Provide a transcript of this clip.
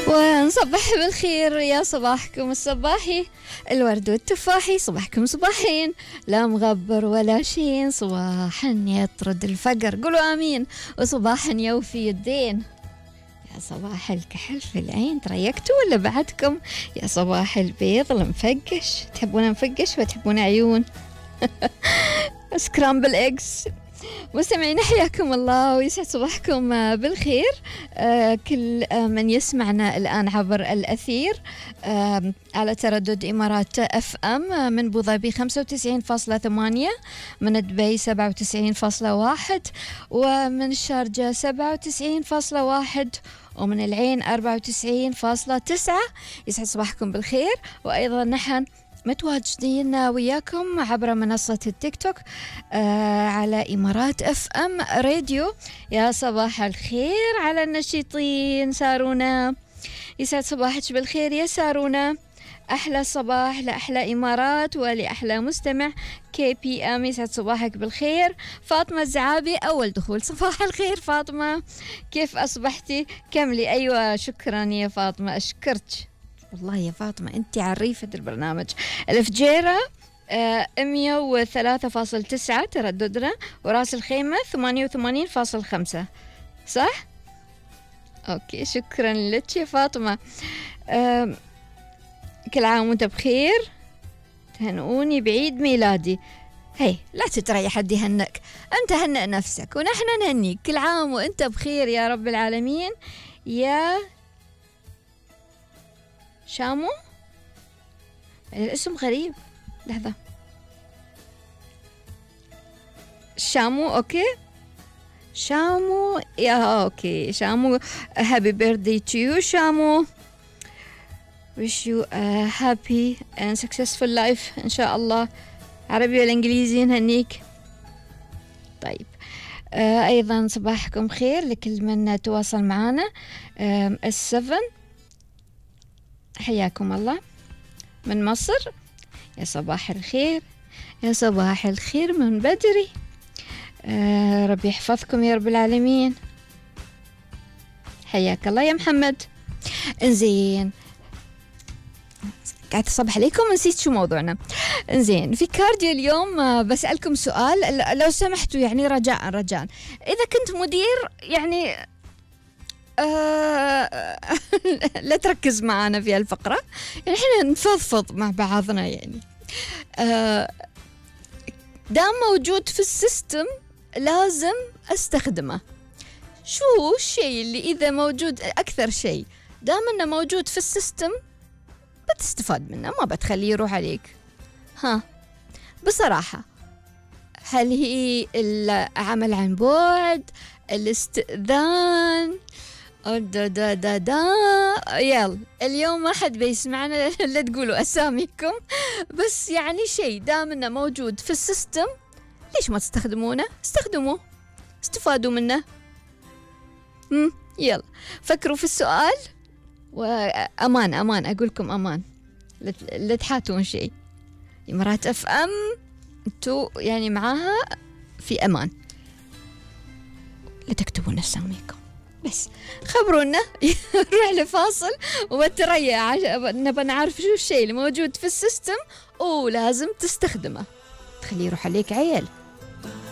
ونصبح بالخير يا صباحكم الصباحي، الورد والتفاحي، صباحكم صباحين، لا مغبر ولا شين، صباحا يطرد الفقر، قولوا آمين، وصباحا يوفي الدين. يا صباح الكحل في العين، تريكتوا ولا بعدكم؟ يا صباح البيض المفقش، تحبون مفقش وتحبون عيون؟ سكرامبل إكس. مستمعين حياكم الله ويسعد صباحكم بالخير. كل من يسمعنا الآن عبر الأثير على تردد إمارات اف ام من ابو ظبي 95.8، من دبي 97.1، ومن الشارجة 97.1، ومن العين 94.9. يسعد صباحكم بالخير. وأيضا نحن متواجدين وياكم عبر منصة التيك توك على إمارات اف ام راديو. يا صباح الخير على النشيطين. سارونا، يسعد صباحك بالخير يا سارونا. أحلى صباح لأحلى إمارات ولأحلى مستمع كي بي ام. يسعد صباحك بالخير. فاطمة الزعابي، أول دخول. صباح الخير فاطمة، كيف أصبحتي؟ كملي. أيوة شكرا يا فاطمة، أشكرك والله يا فاطمة، أنت عريفة البرنامج. الفجيرة 103.9 ترددنا، وراس الخيمة 88.5. صح؟ أوكي، شكرا لك يا فاطمة. كل عام وانت بخير، تهنئوني بعيد ميلادي. هي لا تتريح حد يهنئك، أنت هنئ نفسك ونحن نهنيك. كل عام وانت بخير يا رب العالمين. يا شامو، الاسم غريب، لحظة. شامو، أوكي شامو، يا أوكي شامو. happy birthday to you شامو. wish you a happy and successful life إن شاء الله. عربي ولا إنجليزي نهنيك؟ طيب. أيضا صباحكم خير لكل من تواصل معنا. السفن، حياكم الله من مصر. يا صباح الخير، يا صباح الخير من بدري. ربي يحفظكم يا رب العالمين. حياك الله يا محمد. انزين، قاعد أصبح عليكم، نسيت شو موضوعنا. انزين، في كارديو اليوم بسألكم سؤال لو سمحتوا، يعني رجاء إذا كنت مدير يعني لا تركز معنا في الفقرة، يعني احنا نفضفض مع بعضنا. يعني دام موجود في السيستم لازم استخدمه. شو الشيء اللي إذا موجود، أكثر شيء دام انه موجود في السيستم بتستفاد منه، ما بتخليه يروح عليك؟ ها بصراحة، هل هي العمل عن بعد، الاستئذان، يلا اليوم ما حد بيسمعنا لا تقولوا أساميكم، بس يعني شيء دام انه موجود في السيستم ليش ما تستخدمونه؟ استخدموه، استفادوا منه. يلا فكروا في السؤال، وأمان أقول لكم أمان، لا تحاتون شيء. إمارات اف ام انتو يعني معاها في أمان، لا تكتبون أساميكم، بس خبرونا. نروح لفاصل وبتريا نبى نعرف شو الشيء اللي موجود في السيستم ولازم تستخدمه، تخليه يروح عليك عيل.